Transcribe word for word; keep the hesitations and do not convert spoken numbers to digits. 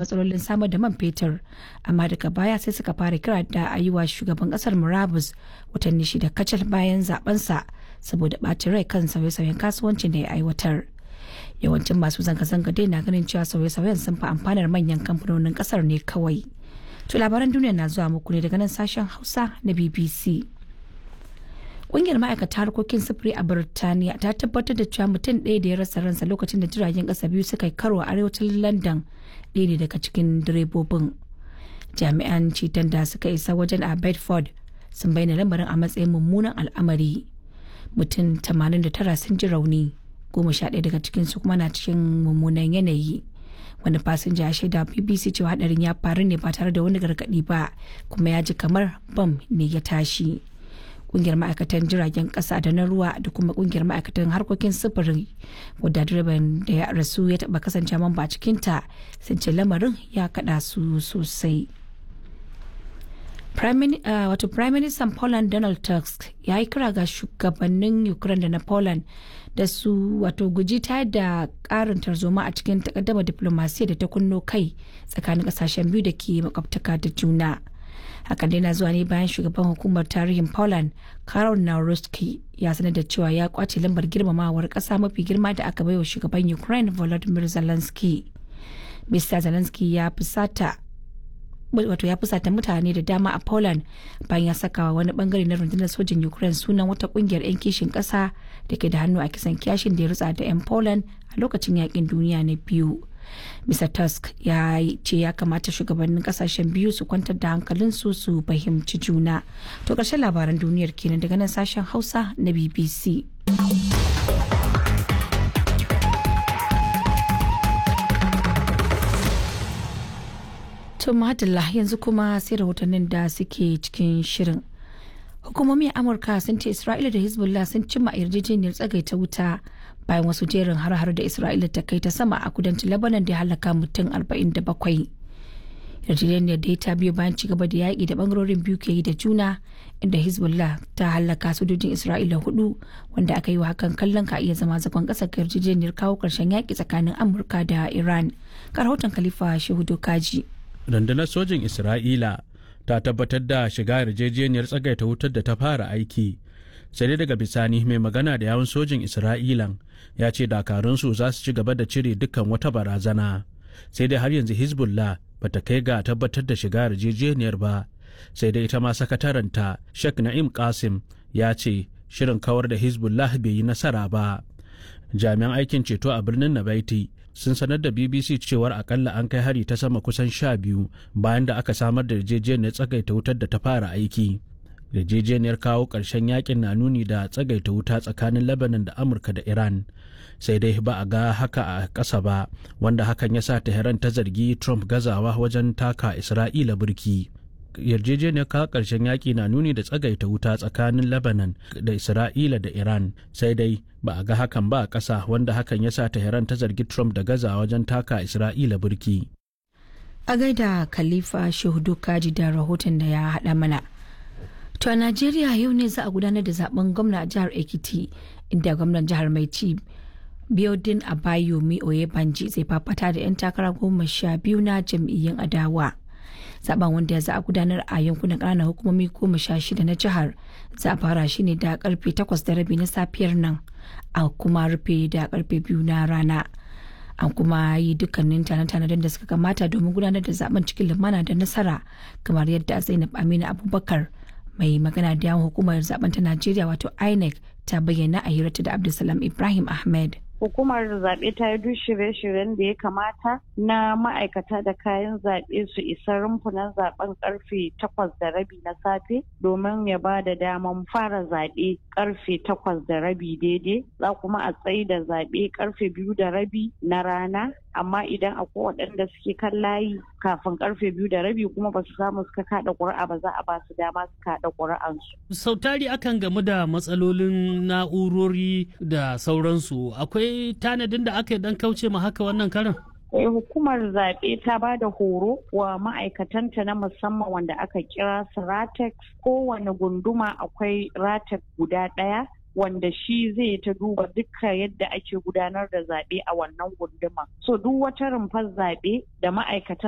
Matsalolin samar da man fetur, amma daga baya sai suka fara kira da a yi wa shugaban kasar murabus watanni shida kacal bayan zabensa saboda ɓacin rai kan sauye-sauyen kasuwancin da ya aiwatar. Yawancin masu zanga-zanga dai na ganin cewa sauye-sauyen sun fi amfanar manyan kamfanonin kasar ne kawai. To, labaran duniya na zuwa muku ne daga nan Sashen Hausa na B B C. Ƙungiyar ma'aikata harkokin sufuri a Birtaniya ta tabbatar da cewa mutum ɗaya da ya rasa ransa lokacin da jiragen ƙasa biyu suka yi karo a arewacin London ɗaya ne daga cikin direbobin. Jami'an ceton da suka isa wajen a Bedford sun bayyana lamarin a matsayin mummunan al'amari. Mutum tamanin da tara sun ji rauni, goma sha ɗaya daga cikinsu kuma na cikin mummunan yanayi. Wani fasinja ya shaida B B C cewa hadarin ya faru ne ba tare da wani gargaɗi ba, kuma ya ji kamar bam ne ya tashi. Kungiyar ma'aikatan jiragen kasa da na ruwa da kuma kungiyar ma'aikatan harkokin sufuri, wadda direban da ya rasu ya taba kasance mamba a cikinta, sun ce lamarin ya kada su sosai. Wato Prime Minister Poland Donald Tusk ya yi kira ga shugabannin Ukraine da na Poland da su wato guji ta da karin tarzoma a cikin takaddama diplomasiya da ta kunno kai tsakanin kasashen biyu da ke makwabtaka da juna. Hakan dai na zuwa ne bayan shugaban hukumar tarihin Poland Karol Nawrocki ya sanar da cewa ya kwace lambar girmamawar kasa mafi girma da aka baiwa shugaban Ukraine Volodymyr Zelensky. Mister Zelensky ya fusata, wato ya fusata mutane da dama a Poland bayan ya saka wani bangare na rundunar sojin Ukraine sunan wata kungiyar 'yan kishin kasa da ke da hannu a kisan kiyashin da ya rutsa da 'yan Poland a lokacin yakin duniya na biyu. Mister Tusk ya ce ya kamata shugabannin kasashen biyu su kwantar da hankalinsu su fahimci juna. To, ƙarshen labaran duniyar kenan daga nan Sashen Hausa na B B C. To madalla, yanzu kuma sai rahotannin da suke cikin shirin. Hukumomi a Amurka sun ce Isra'ila da Hezbollah sun cimma yarjejeniyar tsagaita wuta bayan wasu jerin har-har da Isra'ila ta kai ta sama a kudancin Lebanon da ya halaka mutum arba'in da bakwai. Yarjejeniyar da ta biyo bayan cigaba da yaƙi da bangarorin biyu ke yi da juna, inda Hezbollah ta halaka sojojin Isra'ila hudu, wanda aka yi wa hakan kallon ka iya zama zagon ƙasa ga yarjejeniyar kawo ƙarshen yaƙi tsakanin Amurka da Iran. Ga rahoton Khalifa Shehu Dokaji. Rundunar sojin Isra'ila ta tabbatar da shiga yarjejeniyar tsagaita wutar da ta fara aiki, sai dai daga bisani mai magana da yawun sojin Isra'ilan ya ce dakarunsu za su ci gaba da cire dukkan wata barazana. Sai dai har yanzu Hezbollah bata kai ga tabbatar da shiga yarjejeniyar ba. Sai dai ita ma sakataranta Sheikh Na'im Qasim ya ce shirin kawar da Hezbollah bai yi nasara ba. Jami'an aikin ceto a birnin Nabaiti sun sanar da B B C cewar akalla an kai hari ta sama kusan sha biyu bayan da aka samar da yarjejeniyar tsagaita wutar da ta fara aiki. Yarjejeniyar kawo ƙarshen yakin na nuni da tsagaita wuta tsakanin Lebanon da Amurka da Iran, sai dai ba a ga haka a ƙasa ba, wanda hakan ya sa Tehran ta zargi Trump gazawa wajen taka Isra'ila burki. Yarjejeniyar kawo ƙarshen yaƙi na nuni da tsagaita wuta tsakanin Lebanon da Isra'ila da Iran, sai dai ba a ga hakan ba a ƙasa, wanda hakan ya sa Tehran ta zargi Trump da gaza wajen taka Isra'ila burki. A gaida Khalifa Shehu Kaji da rahoton da ya haɗa mana. To, a Najeriya yau ne za a gudanar da zaben gwamna a jihar Ekiti, inda gwamnan jihar mai ci Biodun Abayomi Oyebanji zai fafata da 'yan takara goma sha biyu na jam'iyyun adawa. Zaben, wanda ya za a gudanar a yankunan ƙananan hukumomi goma sha shida na jihar, za a fara shi ne da karfe takwas da rabi na safiyar nan a kuma rufe da karfe biyu na rana. An kuma yi dukkanin tane-tanen da suka kamata domin gudanar da zaben cikin lumana da nasara, kamar yadda Zainab Aminu Abubakar, mai magana da yawon hukumar zaben ta Najeriya wato INEC, ta bayyana a hirarta da Abdulsalam Ibrahim Ahmed. Hukumar zaɓe ta yi duk shirye-shiryen da ya kamata na ma'aikata da kayan zaɓe su isa rumfunan zaɓen karfe takwas da rabi na safe domin ya ba da daman fara zaɓe karfe takwas da rabi daidai. Za kuma a tsayi da zaɓe karfe biyu da rabi na rana, amma idan akwai waɗanda suke kan layi kafin karfe biyu da rabi kuma ba su samu suka kaɗa ƙuri'a ba, za a ba su dama su kaɗa ƙuri'ansu. Sau tari akan gamu da matsalolin na'urori da sauransu. Akwai tanadin da aka yi dan kauce ma haka wannan karan? Hukumar zaɓe ta ba da horo wa ma'aikatanta na musamman wanda aka kira su RATEX. Kowane gunduma akwai RATEX guda ɗaya wanda shi zai ta duba dukkan yadda ake gudanar da zaɓe a wannan gunduma. So duk wata rumfar zaɓe da ma'aikatan